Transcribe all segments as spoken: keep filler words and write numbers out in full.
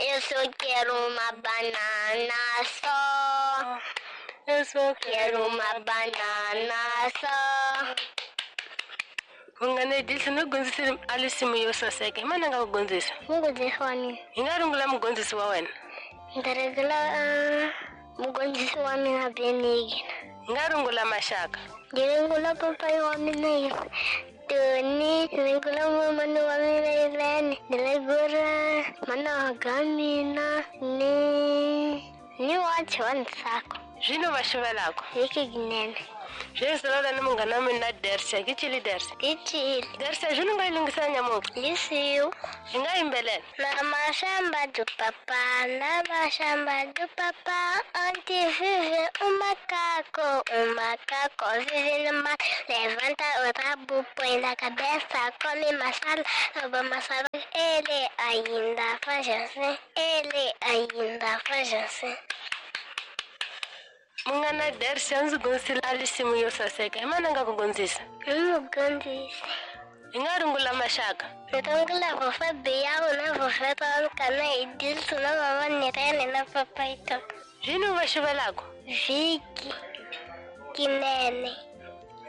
Eu só quero uma banana só. Eu só Quero uma banana só. Munghana Edilson u gondzisile a risimu yo saseka. Hi mani a nga ku gondzisa? Mugondzisi wa mina. Hi nga rungula mugondzisi wa wena? Ndzi rungula mugondzisi wa mina Benigna. Hi nga rungula maxaka? Ndzi rungula papayi wa mina Tony, ndzi rungula mamani wa mina Ivene, ndzi rungula mana wa mina ni ni wachi wa Ntsako. Zwino va xuvelako? Vhiki Ginene. Zwi ni munghana wa mina Dersia. Ke cili Dersia? Ke cili. Dersia, zwino nga yi lunghisa nyamuka? Lisiu. Hi nga yimbelela? Na mashamba do papá, na mashamba do papá, onde vive um macaco, um macaco vive no mato, levanta o rabo, põe na cabeça, come maçã, rouba maçã, ele ainda faz assim, ele ainda faz assim. Munghana Dersia ndzi gondzisile a risimu yo saseka. Hi mani a nga ku gondzisa? Mugondzisi. Hi nga rungula maxaka? Rungula vovó Bial na vovó Verônica na Edilson na mama Nirene na papai Toco. Zwino va xuvelako? Vhiki Kinene.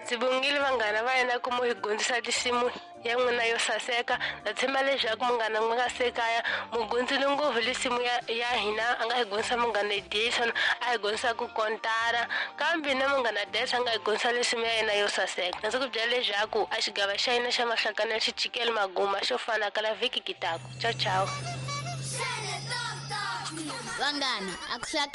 Ndzi bongile vanghana va yena ku mu hi gondzisa risimu ya n'wina yo saseka. Na tshemba leswaku munghana n'wi nga se kaya mu gondzile ngopfu risimu ya, ya hina a nga hi gondzisa munghana Edilson, a hi gondzisa ku kontara, kambe na munghana Dersia a nga hi gondzisa risimu ya yena yo saseka. Ndzi ku byela leswaku a xigava xa hina xa mahlakana xi chikele maguma xo fana kala vhiki ki taku. Ciao ciao. Vanghana, a ku hlaka